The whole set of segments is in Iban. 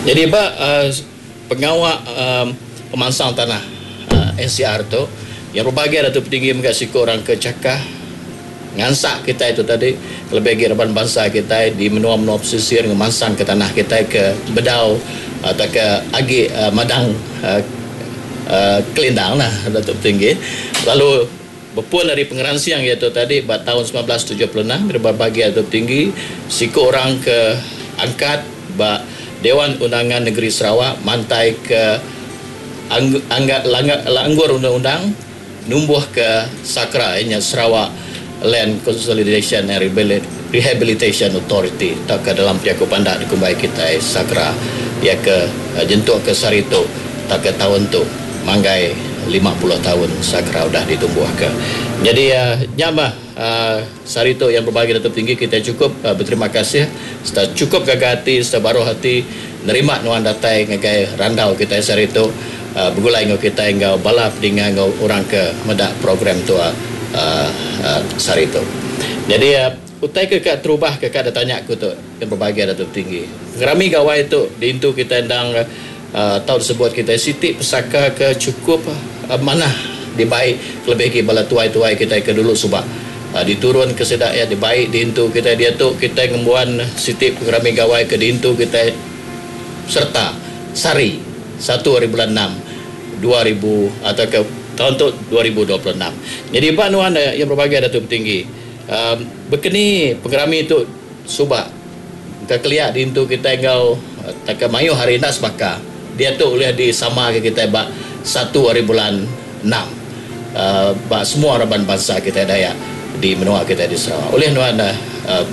Nyadi ba pengawa pemansang tanah NCR tu, iya bebagi Datuk Petinggi mega siku orang ke chakah ngansak kitai tu tadi kelebih agi raban bansa kitai di menua-menua pesisir ngemansangka tanah kitai ke bedau tauka agi madang kelindang lah Datuk Petinggi. Lalu bepun ari pengeransing iya tu tadi ba taun 1976 dariba bagi Datuk Tinggi siku orang ke angkat ba Dewan Undangan Negeri Sarawak mantai ke langgur undang-undang numbuh ke SAKRA iya nya Sarawak Land Consolidation and Rehabilitation Authority tauka dalam jaku pandak dikumbai kitai SAKRA iya ke nyentuk ke sehari tu tauka taun tu manggai 50 taun SAKRA udah ditumbuhka. Nyadi nya mah sehari tu yang berbagi Datuk Tinggi kitai chukup beterima kasih sereta chukup gaga ati sereta baruh ati nerima nuan datai ngagai randau kitai sehari tu begulai enggau kitai enggau bala pedinga enggau orang ke meda program tu sehari tu. Nyadi utai ke ka terubah ke ka ditanya aku tu yang berbagi Datuk Tinggi. Pengerami gawai tu diintu kitai endang Tau disebut kitai siti pesaka ke chukup manah dibai kelebih agi bala tuai-tuai kitai ke dulu suba. Diturun ke sida iya dibai diintu kitai diatu kitai ngembuan siti pengerami gawai ke diintu kitai sereta sehari satu hari bulan enam 2000 atau ke taun tu 2026. Nyadi ba nuan iya berbagai Datuk Petinggi bekeni pengerami tu suba. Engka kelia diintu kitai enggau tauka mayuh hari enda sebaka. Diatu ulih disamaka kitai ba satu hari bulan enam ba semua raban bansa kitai Dayak di menua kitai di Sarawak. Ulih nuan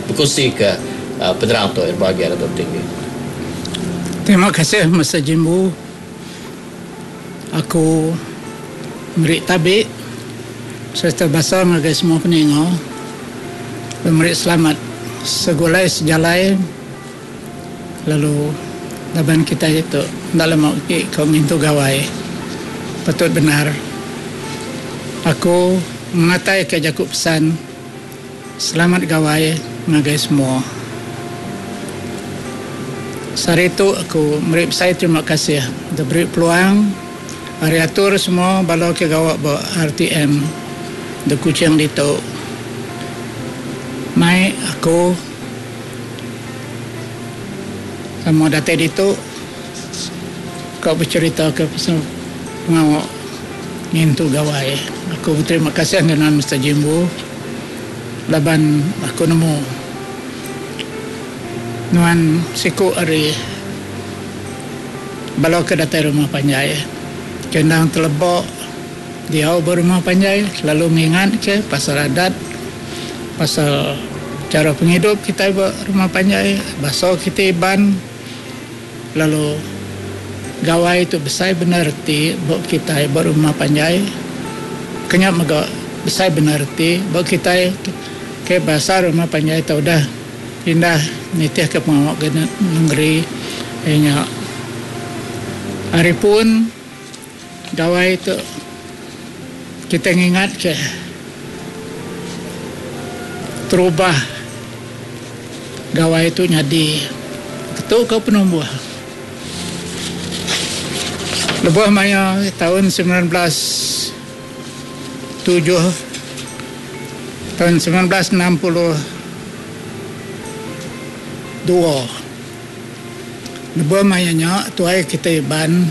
bekunsika penerang tu Bahagia Datuk Tinggi. Terima kasih Mister Jimbu. Aku meri tabi sereta basa ngagai semua peninga lalu meri selamat segulai sejalai lalu laban kitai tu enda lama agi ko ngintu gawai patut bendar aku ngenatai ka jaku pesan Selamat gawai ngagai semua. Sehari tu aku meri besai terima kasih deh beri peluang ari atur semua bala ke gawa ba RTM de Kuching ditu mai aku sama datai ditu ka becherita ke pasal pengawa ngintu gawai. Aku beterima kasih ngagai nuan Mister Jimbu. Laban aku nemu nuan siku ari bala ke datai rumah panjai ke endang teleba diau ba rumah panjai selalu ngingat ke pasal adat pasal chara pengidup kitai ba rumah panjai basa kitai Iban lalu gawai tu besai bendar reti ba kitai ba rumah panjai ke nya mega besai bendar reti ba kitai ke basa rumah panjai tu udah pindah nitihka pengawa ke nengeri iya nya hari pun gawai tu kitai ngingatka terubah gawai tu nyadi ketu ka penumbuh. Lebuh maya taun 19 7 taun 1962 lebuh maya nya tuai kitai Iban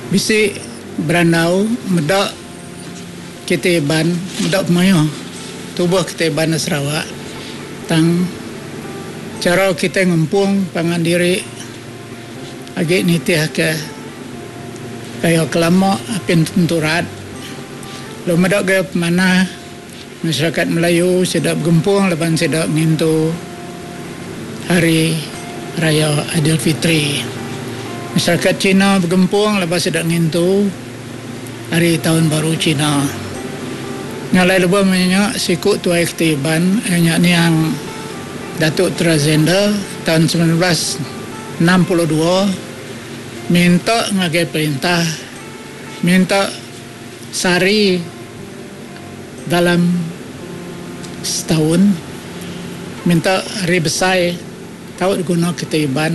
bisi berandau meda kitai Iban meda pemayuh tubuh kitai Iban da Sarawak tang chara kitai ngempung pangan diri agi nitihka gaya ke lama apin tentu rat lalu meda gaya pemanah masyarakat Melayu sida begempung laban sida ngintu Hari Raya Aidilfitri. Masyarakat China begempung laban sida ngintu Hari Taun Baru China. Nya alai lebuh maya nya siku tuai keti Iban iya nya niang Datuk Trazender taun 1962 minta ngagai perintah minta sehari dalam setaun minta hari besai tau diguna kitai Iban.